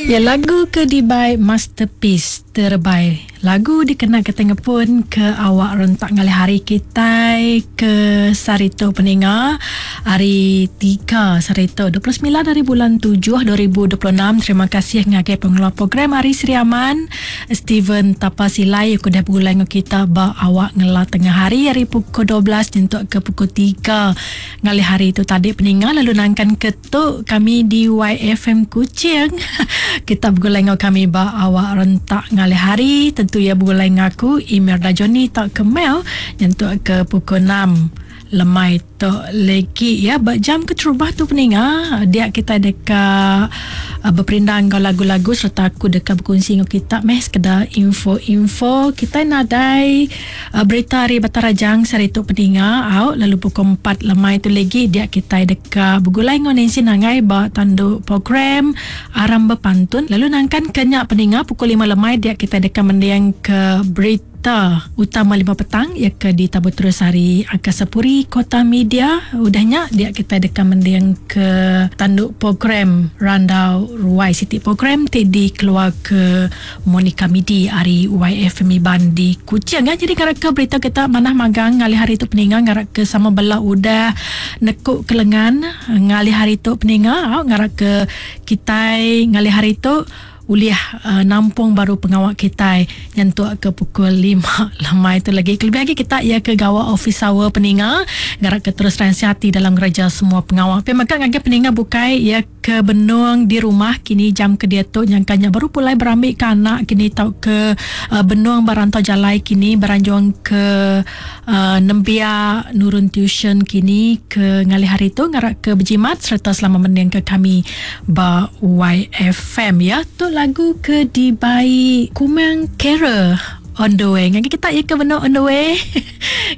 Ya lagu ke dibai masterpiece terebai. Lagu dikena kitai ngepun ke awak rentak ngalih hari kitai ke sehari tu peninga hari tiga sehari tu 29 hari bulan tujuh 2026. Terima kasih ngagai pengeluar program ari Sri Aman Steven Tapa Silai ke udah begulai enggau kita ba awak ngela tengah hari ari pukul 12 nyentuk ke pukul tiga ngalih hari tu tadi peninga lalu nangkan ke Tu kami di YFM Kuching. Kita begulai enggau kami ba awak rentak ngalih hari. Tentu iya begulai enggau aku Imelda Johnny tauka Mel nyentuk ke pukul 6 lemai tu legi ya ba jam keterubah tu peninga dia kita deka uh, beperindang enggau lagu-lagu sereta aku deka bekunsi enggau kita meh sekeda info-info kita nadai Berita ari Batang Rajang sehari tu peninga au lalu pukul empat lemai tu legi dia kitai deka begulai enggau Nancy Nangai ba tandu program Aram Bepantun lalu nangkan ke nya peninga pukul lima lemai dia kitai deka mending ke berita utama lima petang iya ke ditabur terus ari Angkasa Puri Kota Media udah nya dia kitai deka mending ke tandu program Randau Ruai siti program ti dikeluarka Monica Midi ari YFM Iban di Kuching. Ya, jadi ngarap ke berita kita manah magang ngalih hari tu peninga ngarap ke sama bela udah nekuk ke lengan ngalih hari tu peninga au ngarap ke kitai ngalih hari tu ulih uh, nampung baru pengawa kitai nyentuk ke pukul 5 lemai tu lagi. Kelebih agi kita iya ke gawa office hour peninga ngarap ke terus ransing ati dalam ngereja semua pengawa. Pia mega ngagai peninga bukai iya Ke benung di rumah kini jam ke diatu nyangka nya baru pulai berambi ke anak kini tauka benung ba rantau jalai kini beranjung ke nembiak nurun tuition kini ke ngalih hari tu ngarap ke bejimat sereta selama mending ke kami ba YFM ya. Tu lagu ke dibai Kumang Carol on the way. Ngagai kita iya ke benung on the way.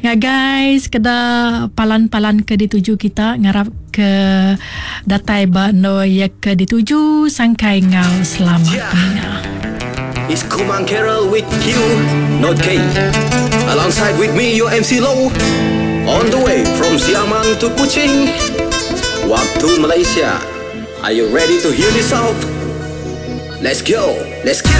Ngagai sekeda palan-palan ke dituju kita ngarap ke datai ba endur iya ke dituju sangkai enggau selamat peninga. It's Kumang Carol with Q, not K. Alongside with me, your MC Low. On the way from Siaman to Kuching. Waktu Malaysia. Are you ready to hear this out? Let's go. Let's get it.